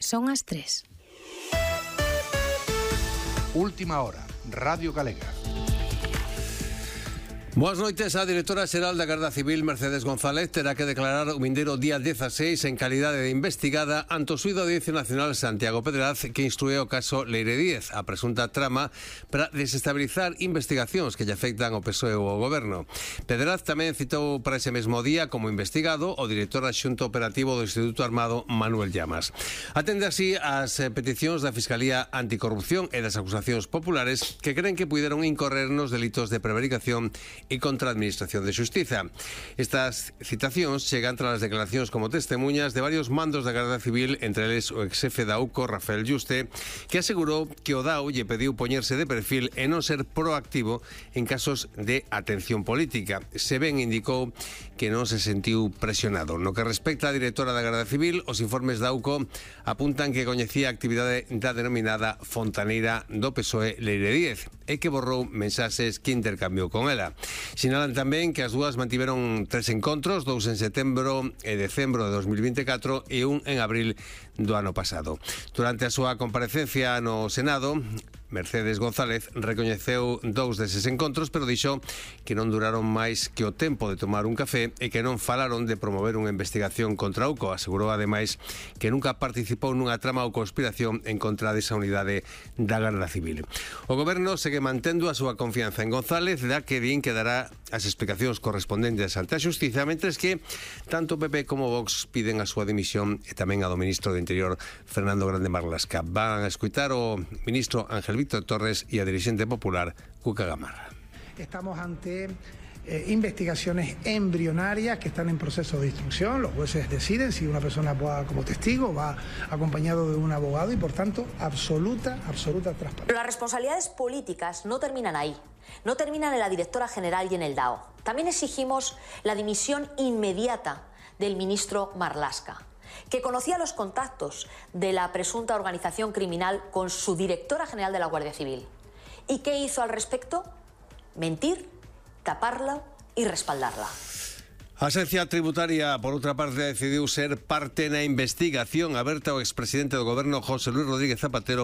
Son as 3. Última hora, Radio Galega. Boas noites. A directora xeral da Garda Civil, Mercedes González, terá que declarar o vindeiro día 16 en calidade de investigada ante o xuízo da Audiencia Nacional Santiago Pedraz, que instrue o caso Leire Díez, a presunta trama para desestabilizar investigacións que lle afectan ao PSOE ou ao Goberno. Pedraz tamén citou para ese mesmo día como investigado o director adxunto operativo do Instituto Armado, Manuel Llamas. Atende así as peticións da Fiscalía Anticorrupción e das acusacións populares que creen que puideron incorrer nos delitos de prevaricación e contra a Administración de Xustiza. Estas citacións chegan tras as declaracións como testemunhas de varios mandos da Garda Civil, entre eles o exxefe da UCO, Rafael Yuste, que asegurou que o DAO lle pediu poñerse de perfil e non ser proactivo en casos de atención política. Se ben indicou que non se sentiu presionado. No que respecta á directora da Garda Civil, os informes da UCO apuntan que coñecía a actividade da denominada fontaneira do PSOE Leire Díez e que borrou mensaxes que intercambiou con ela. Sinalan tamén que as dúas mantiveron 3 encontros, 2 en setembro e decembro de 2024 e un en abril do ano pasado. Durante a súa comparecencia no Senado, Mercedes González recoñeceu 2 deses encontros, pero dixo que non duraron máis que o tempo de tomar un café e que non falaron de promover unha investigación contra a UCO. Asegurou, ademais, que nunca participou nunha trama ou conspiración en contra desa unidade da Garda Civil. O Goberno segue mantendo a súa confianza en González, da que din que dará as explicacións correspondentes ante a Xustiza, mentres que tanto PP como Vox piden a súa dimisión e tamén a do ministro do Interior, Fernando Grande Marlaska. Van a escutar o ministro Ángel Víctor Torres y a dirigente popular Cuca Gamarra. Estamos ante investigaciones embrionarias que están en proceso de instrucción. Los jueces deciden si una persona va como testigo, va acompañado de un abogado y, por tanto, absoluta transparencia. Pero las responsabilidades políticas no terminan ahí. No terminan en la directora general y en el DAO. También exigimos la dimisión inmediata del ministro Marlaska, que conocía los contactos de la presunta organización criminal con su directora general de la Guardia Civil. ¿Y qué hizo al respecto? Mentir, taparla y respaldarla. A Axencia Tributaria, por outra parte, decidiu ser parte na investigación aberta ao expresidente do Goberno, José Luis Rodríguez Zapatero,